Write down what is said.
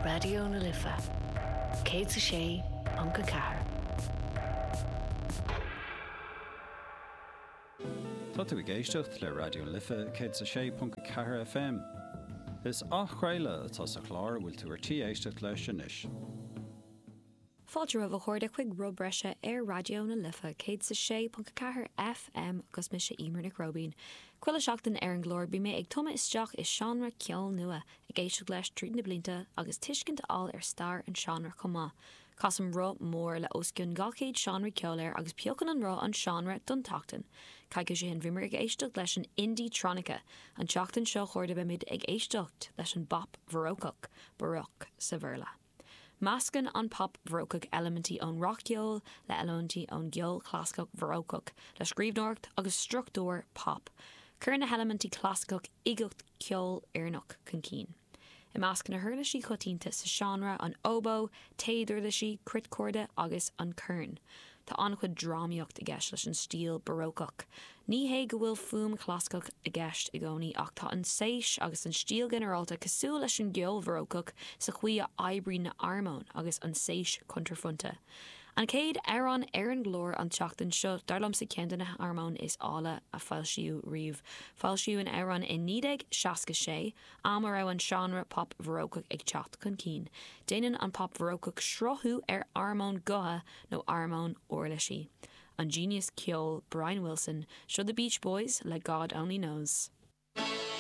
Raidió na Life 106.4. Tá tú ag éisteacht le Raidió na Life 106.4 FM. Is athchraoladh atá sa chlár a bhfuil tú ar tí éisteacht leis anois. Fáilte romhaibh a chairde chuig Roth Breise ar Raidió na Life 106.4 FM agus mise Eimear Nic Róibín. Chuile seachtain ar an gclár bíonn mé ag tumadh isteach i seánra ceoil nua, ag éisteacht leis tríd na blianta agus tuiscint a fháil ar stair an seánra chomh maith. Casaim roth mór le os cionn 200 seánra ceoil air agus piocann an roth an seánra don tseachtain. Coicís ó shin bhíomar ag éisteacht leis an Indie-tronica. An tseachtain seo a chairde beimid ag éisteacht leis an bpop Bharócach, Baroque sa Bhéarla. Meascann an pop Bharócach eilimintí ón rac-cheol le heilimintí ón gceol clasaiceach Bharócach, le scríbhneoireacht agus struchtúr pop. Cuireann na heilimintí clasaiceach uigeacht ceoil oiriúnach chun cinn. I measc na huirlisí coitianta sa seánra, an óbó, téaduirlisí, cruitchorda agus an corn. Tá an-chuid drámaíocht i gceist leis an stíl Barócach. Ní hé go bhfuil fuaim chlasaiceach i gceist i gcónaí ach tá an séis agus an stíl ginearálta cosúil leis an gceol Bharócach sa chaoi a oibríonn na armóin agus an séis cuntraphointe. An chéad amhrán ar an gclár an tseachtain seo, dar liomsa ceann de na harmóin is áille a foilsíodh riamh. Foilsíodh an amhrán i 1966. am a raibh an seánra pop Bharócach ag teacht chun cinn. Déanann an pop Bharócach sruthú ar armóin gutha nó armóin uirlisí. An genius ceoil Brian Wilson, seo The Beach Boys le God Only Knows.